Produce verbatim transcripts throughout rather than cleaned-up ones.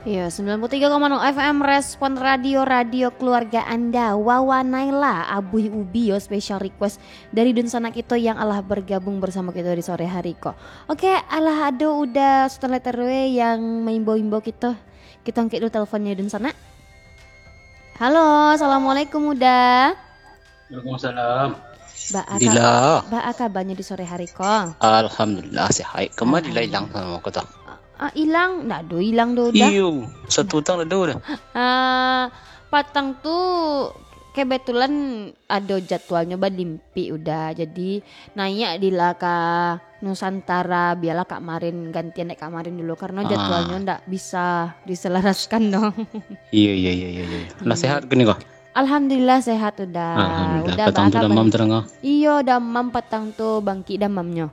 Iyo, sembilan puluh tiga koma nol F M Respon Radio, radio keluarga Anda. Wawa Naila, Abuih Ubi yo, special request dari dunsanak kito yang alah bergabung bersama kito di sore hari ko. Oke, alah ado Uda Sultan Letter W yang maimbau-imbau kito. Kito angkek dulu teleponnyo dunsanak. Halo, assalamualaikum Uda. Waalaikumsalam. Ba a ka-, Dila. Ba a kabanyo di sore hari ko? Alhamdulillah, sehat. Kama Dila ilang samo ko tu? Ah, ilang? Ndak ado ilang doh, Uda. Iyo, satu utang ado dah. Ah, patang tu kebetulan ado jadwalnyo balimpik, Uda. Jadi, naiak Dila ka Nusantara, bialah Kak Marin gantian dek Kak Marin dulu, karena Ah. jadwalnyo ndak bisa diselaraskan, no. Iyo, iyo, iyo, iyo, iyo. Lah Iyo. sehat kini ko? Alhamdulillah sehat, Uda. Alhamdulillah. Uda Patang tu ba a damam kabar? Terang, ah? Iyo, damam patang tu, bangkik damamnyo.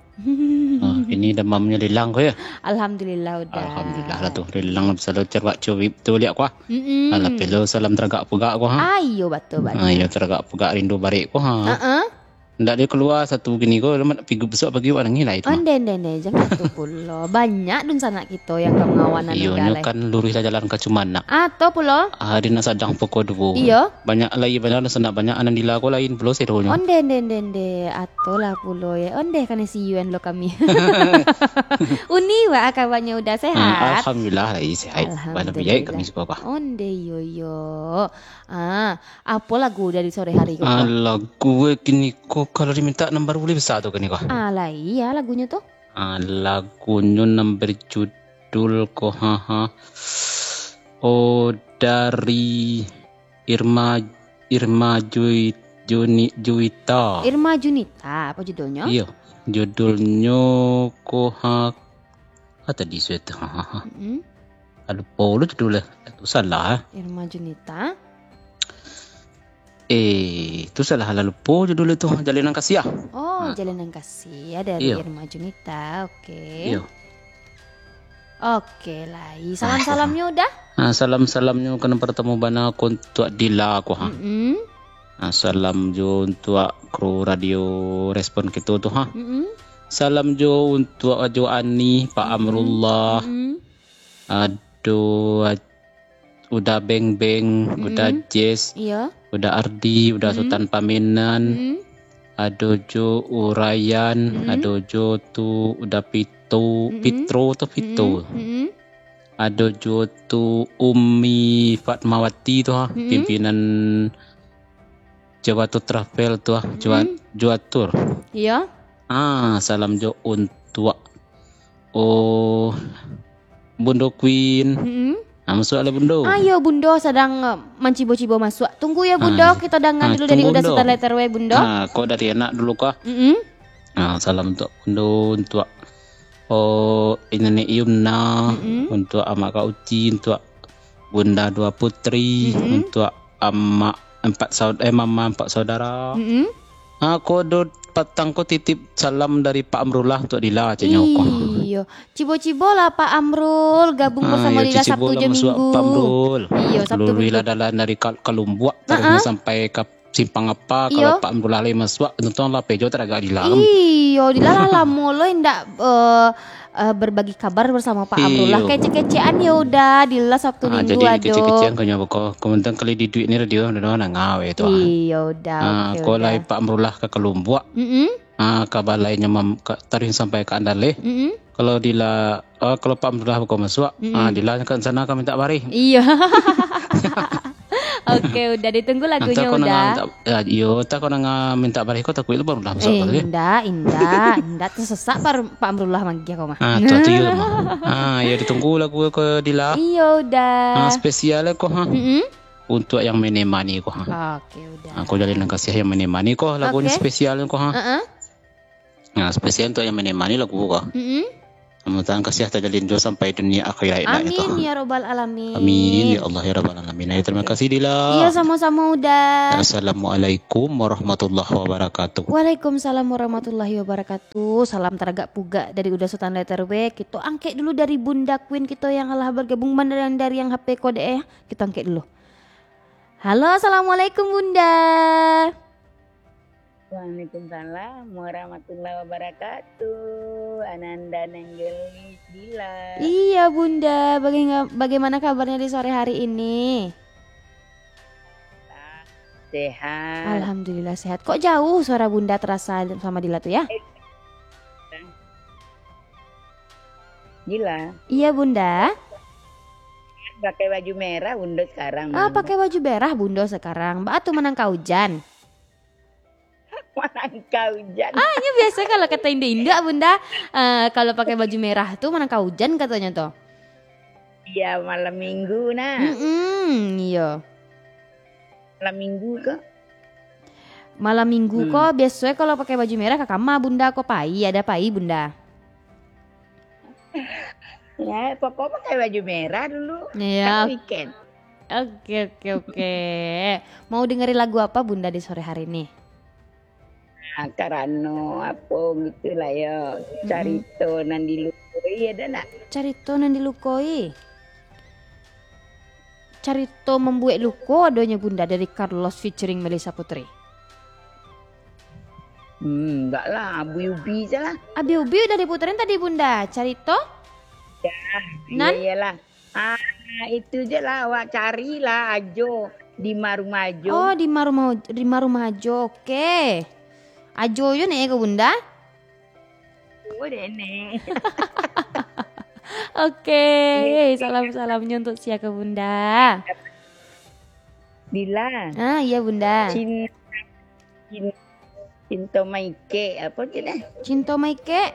Ah, kini damamnyo ilang ko, yo? Alhamdulillah, Uda. Alhamdulillah lah tu. Ilang bisa lo cerak curik tu liak ko, ah. Mm-mm. Alah, pelo salam taragak pegak ko, ha? Ah, iyo, batul, batul. Ah, iyo, taragak pegak rindu barek ko, ha? Heeh. Ndak ado kalua satu kini ko, lamak pigi bisuak pagi awak nangih lai tu mah. Onde, onde, onde, jangan tu pulo. Banyak dunsanak kito yang ka mangawan anu Iyo, dah nyo lai. Kan luruih lah jalan ka Cumanak. Ah, to pulo. Ah, di nan sadang poko duo. Iyo. Banyak lai, banyak dunsanak, banyak anan Dila ko lain pulo seronyo. Onde, onde, onde, onde. Ato lah pulo, yo. Onde, kana si Yuan lo kami. Uni, wa kabarnyo Uda sehat? Hmm, alhamdulillah lai sehat. Alhamdulillah. Bana biaik kami suko apa. Onde, yo, yo. Ah, apo lagu dari sore hari ko? Ah, lagu, eh, kini ko, kalau diminta nan baru buliah bisa tu kini ko. Ah, lah iya lagunyo tu. Ah, lagunyo nan berjudul ko, ha, ha. Oh, dari Irma, Irma Jui-, Juni-, Juwita. Irma Junita, apa judulnyo? Iyo, judulnyo ko, ha, ah, tadi sudah tu, ha, ha, ha. Mm-mm. Ah, lupo lo judulnyo. Tu salah, eh. Irma Junita. Eh, tu salah lah, lupo judulnyo tu. Jalinan Kasih, ah. Oh, Ha. Jalinan Kasih, ya, dari Iyo. Irma Junita. Oke. Iyo. Oke, lai. Ah, Salam-salamnyo Uda? Ah, salam-salamnyo ka nan partamo bana ko untuak Dila ko, ha. Mm-mm. Ah, salam jo untuak kru Radio Respon kito tu, ha. Mm-mm. Salam jo untuak Ajo Ani, Pak Mm-mm. Amrullah. Mm-mm. Ado Aj-, Uda Beng Beng, Uda Mm-mm. Jess, Iyo. Uda Ardi, Uda Mm-mm. Sutan Pamenan, Mm-mm. ado jo Urayan, Mm-mm. ado jo tu Uda Pito, Mm-mm. Pitro tu Pito. Mm-mm. Mm-mm. Ado jo tu Umi Fatmawati tu, ha, Mm-mm. pimpinan Jawa Tour Travel tu, ah, Jawa, Mm-mm. Jawa Tour. Iyo. Ah, salam jo untuak, oh, Bundo Queen. Mm-mm. Ah, masuak lah, Bundo. Ayo, Bundo sadang, eh, mancibo-cibo masuak. Tunggu ya, Ah, Bundo, iyo. Kito dangan Ah, dulu dari tunggu, Uda Bundo. Sutan Letter W, Bundo. Ah, ko dari anak dulu kah? Mm-mm. Ah, salam untuak Bundo, untuak, oh, Nenek Yumna, Mm-mm. untuak Amak Kak Uci, untuak Bunda Dua Putri, Mm-mm. untuak Amak Empat Saud-, eh, Mama Empat Saudara. Mm-mm. Ah, ko do patang ko titip salam dari Pak Amrullah untuak Dila, caknyo ko. Iyo. Cibo-cibo lah Pak Amrul gabung Ah, bersama iyo, Dila cibo Sabtu lah jo masuak Minggu. Pak Amrul. Iyo, Sabtu Luruih Minggu. Lah dalan dari Kal-, Kalumbuak, taruih Ha-ha. sampai ka Simpang Apa, Iyo. Kalau Pak Amrullah lai masuak, tonton lah pejo taragak Dila kan. Iyo, Dila lah lamo lo indak, eh, eh, berbagi kabar bersama Pak Amrullah. Iyo. Kecek-kecekan ya Uda, Dila Sabtu Ah, Minggu jadi ado. Kecek-kecekan ko nyo beko. Kemudian kali di duit ni radio, dah nangah we tu, ah. Iyo, Uda, Ah, oke, ko Uda. Lai Pak Amrullah ka Kalumbuak. Mm-mm. Ah, ka balainyo mam-, ka, taruih sampai ka Andaleh. Mm-mm. Kalau Dila, ah, kalau Pak Amrullah beko masuak, Mm-mm. ah, Dila ka sana ka minta bareh. Iyo. Oke, Uda, ditunggu lagunyo, Uda. Entah ko nang minta, ya, iyo, entah ko nang minta bareh ko takuik lo Pak Amrullah masuak Eh, ko, ya. Indak, indak, indak tesesak Pak, Pak Amrullah manggih ko mah. Ah, tu, tu, iyo, mah. Ah, iyo, ditunggu lagu ko, Dila. Iyo, Uda. Ah, spesial ko, ha. Mm-mm. Untuak yang menemani ko, ha. Oke, Uda. Ah, ko Jalinan Kasih yang menemani ko, lagunyo Oke. spesial ko, ha. Heeh. Nah, spesial untuak yang menemani lagu ko. Mm-mm. Mudah-mudahan kasih tajalin jo sampai dunia akhirat nak itu. Amin, ya rabbal alamin. Amin, ya Allah, ya rabbal alamin. Ayo, terima kasih, Dila. Iya, sama-sama, Uda. Assalamualaikum warahmatullahi wabarakatuh. Waalaikumsalam warahmatullahi wabarakatuh. Salam taragak pugak dari Uda Sutan Letter W. Kito angkek dulu dari Bunda Queen kito yang alah bergabung, bandaran dari yang H P kode, eh. Kito angkek dulu. Halo, assalamualaikum, Bunda. Waalaikumsalam warahmatullahi wabarakatuh. Ananda Nenggelis Dila. Iya, Bunda. Bagaimana, bagaimana kabarnya di sore hari ini? Sehat. Alhamdulillah sehat. Kok jauh suara Bunda terasa sama Dila tu ya? Dila. Iya, Bunda. Pakai baju merah Bunda sekarang. Ah, pakai baju merah Bunda sekarang. Baa tu manangka ujan? Manangka ujan. Ah, nyo biaso kalau kato induak-induak, Bunda, eh, kalau pakai baju merah tu manangka ujan katonyo tu. Iya, malam minggu nah. Mm-mm, iyo. Malam minggu ko? Malam minggu ko, biaso kalau pakai baju merah ka kama Bunda ko, pai, ado pai Bunda? Ya, pokok pakai baju merah dulu. Iya. Kan weekend. Oke, oke, oke. Mau dengerin lagu apa Bunda di sore hari ni? Ah, karano apo gitulah yo. Mm-mm. Carito nan dilukoi ado nak? Carito nan dilukoi. Carito mambuek luko adonyo Bunda dari Carlos featuring Melissa Putri. Hmm, enggak lah, Abi Ubi je lah. Abi Ubi udah diputerin tadi Bunda, carito? Ya, nan? Iya, iyalah. Ah, itu je lah, awak carilah Ajo di Marumah Ajo. Oh, di Marumah, di Marumah Ajo, oke. Ajo yo nek ko Bunda? Oh, dek nek. Oke, salam-salamnya untuk sia ke Bunda? Dila. Ah, iya Bunda. Cin-, cin-, cinto maikek, apa tu dah? Cinto maikek?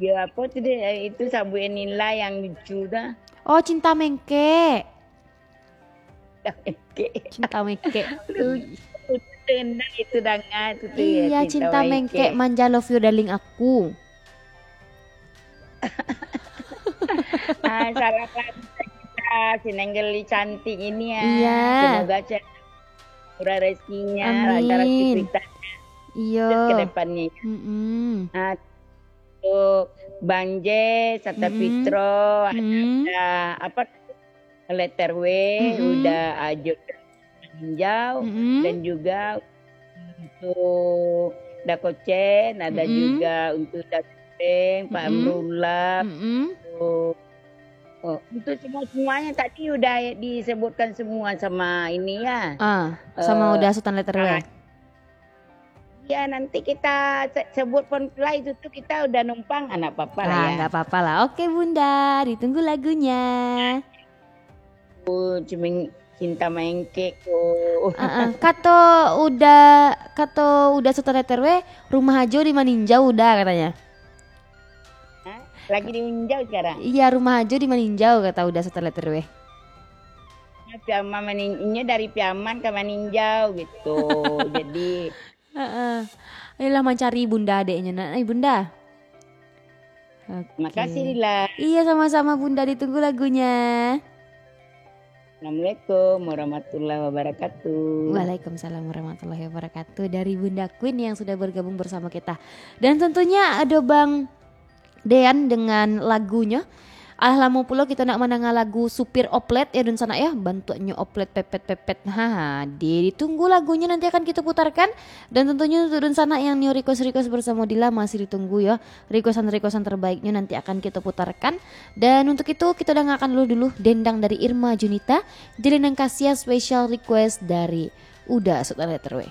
Ya, apa tu dah? Itu sabuik nilai yang lucu dah. Oh, cinta mengkek. Cinta mengkek. Lucu. Tenang itu dangan tu, ya, iya, cinta mengkek, manja love you darling aku. Ah, salam lah kita, si Nenggeli cantik ini ya. Iya. Semoga murah rezekinya, lancar aktivitasnya. Amin. Iya. Ke depannya. Mm-mm. Ah, untuk Bang Jay, Sata Fitro, ada, apa, Letter W, udah Ajo Maninjau, dan juga untuk Dakocen, ada juga untuk Dakocen, Pak Amrullah, untuk, oh, untuk semua-semuanya tadi udah disebutkan semua sama ini ya. Ah, sama udah Sultan Letter W. Ya, nanti kita se-, sebut pun lah itu tu kita udah numpang, anak apa-apa lah. Ah, ya. Nggak apa-apa lah. Oke, Bunda, ditunggu lagunya. Oh, cemeng-, cinta mengkek ko. Ah, ah. Kato udah, kato udah Sultan Letter W, rumah Ajo di Maninjau udah katanya. Hah? Lagi dininjau sekarang? Iya, rumah Ajo di Maninjau, kata udah Sultan Letter W. Piaman manin-, inyo dari Piaman ka Maninjau gitu. Jadi, heeh. Ayolah mancari Bunda adeknya nak. Eh, Bunda. Oke. Makasih, Dila. Iya, sama-sama Bunda, ditunggu lagunya. Assalamualaikum warahmatullahi wabarakatuh. Waalaikumsalam warahmatullahi wabarakatuh. Dari Bunda Queen yang sudah bergabung bersama kita. Dan tentunya ada Bang Dean dengan lagunya. Alah lamo pulo kito nak mandanga lagu Supir Oplet ya, dunsanak ya. Bantuaknyo oplet pepet-pepet. Ha, di-, ditunggu lagunya nanti akan kita putarkan. Dan tentunya untuk dunsanak yang nio request-request bersama Dila masih ditunggu ya. Requestan-requestan terbaiknya nanti akan kita putarkan. Dan untuk itu, kita dengarkan dulu, dulu Dendang dari Irma Junita, Jalinan Kasih special request dari Uda Sultan Letter W.